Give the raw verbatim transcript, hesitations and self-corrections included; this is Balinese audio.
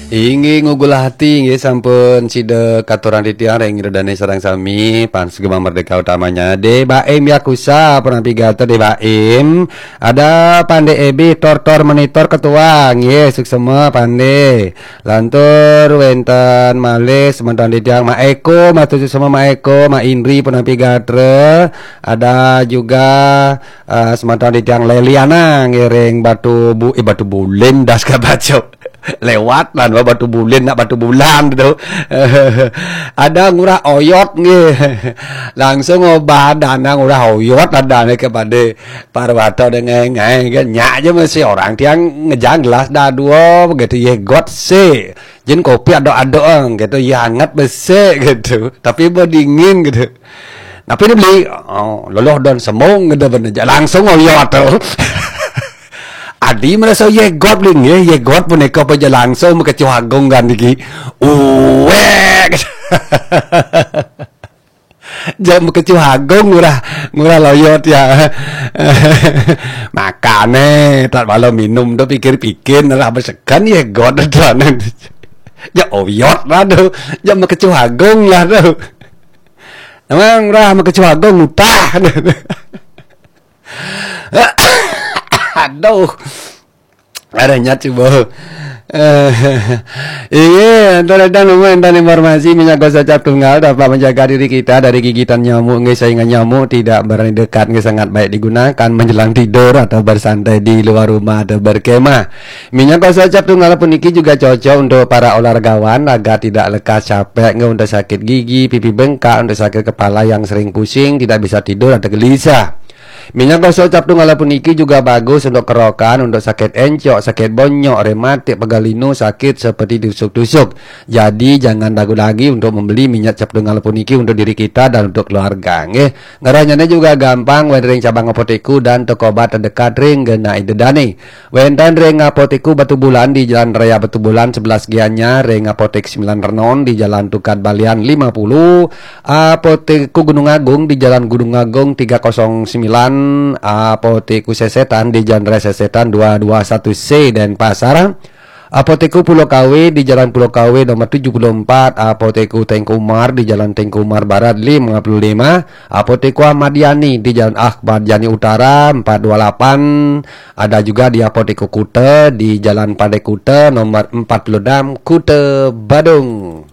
Inggih, ngugul hati, inggih, sampun sida katurang titiang ring Ida Dane sareng sami, pan sugeng Merdeka Utamanya. De Baim Yakusa, penampi gatra De Baim. Ada Pande Ebi, Tor-tor Menitor Ketua, nggih, suksema Pande. Lantur wenten malih semeton titiang Mak Eko, matur suksema Mak Eko, Mak Indri, penampi gatra. Ada juga, eh, semeton titiang Leliana, ngiring Batu Bu-, eh, Batu Bulin, das kabaca. Lewat lan Batu Bulin, nak Batu Bulan tu. Ada Ngurah Oyot nggih. Langsung obah dana Ngurah Oyot ada ni kepada Parwata dengan ngai kan. Nyak je masih orang tiang ngejang gelas dah dua begitu ye got se. Jin kopi ada-ada ang gitu, ye hangat besek gitu. Tapi berdingin gitu. Tapi dia beli, oh, loloh dan semung gitu bener. Langsung Oyot tu. Adi merasa ye got beli nggih, ye got punika paja langsung Mekecuh Agung kan niki. Uwek. Jam Mekecuh Agung Ngurah, Ngurah Loyot ya. Makane tak malam minum tu pikir-pikir nerah besekan ye got dan. Ya Oyot lah tu. Jam Mekecuh Agung lah tu. Memang Ngurah Mekecuh Agung utah. Aduh. Ada nyat cuba. Eh, iya, antara dan umum dan informasi minyak gosok cap tunggal dapat menjaga diri kita dari gigitan nyamuk. Nggih, saingan nyamuk tidak berani dekat, nggih, sangat baik digunakan menjelang tidur atau bersantai di luar rumah atau berkemah. Minyak gosok cap tunggal puniki juga cocok untuk para olahragawan, agar tidak lekas capek, nggih, untuk sakit gigi, pipi bengkak, untuk sakit kepala yang sering pusing, tidak bisa tidur atau gelisah. Minyak gosok cap tunggal puniki juga bagus untuk kerokan, untuk sakit encok, sakit bonyok, rematik, pegal linu, sakit seperti tusuk-tusuk. Jadi jangan ragu lagi untuk membeli minyak cap tunggal puniki untuk diri kita dan untuk keluarga, nggih. Ngerahnya juga gampang, wénten ring cabang apotekku dan toko obat terdekat ring genah Ida Dane. Wénten ring Apotekku Batubulan di Jalan Raya Batubulan sebelas Gianyar, ring Apotek Sembilan Renon di Jalan Tukad Balian lima puluh, Apotekku Gunung Agung di Jalan Gunung Agung tiga kosong sembilan, Apotekku Sesetan di Jalan Raya Sesetan dua dua satu C Denpasar, Apotekku Pulau Kawe di Jalan Pulau Kawe nomor tujuh puluh empat, Apotekku Tengku Umar di Jalan Tengku Umar Barat lima puluh lima, Apotekku Ahmad Yani di Jalan Ahmad Yani Utara empat dua lapan, ada juga di Apotekku Kuta di Jalan Pantai Kuta nomor empat puluh enam, Kuta Badung.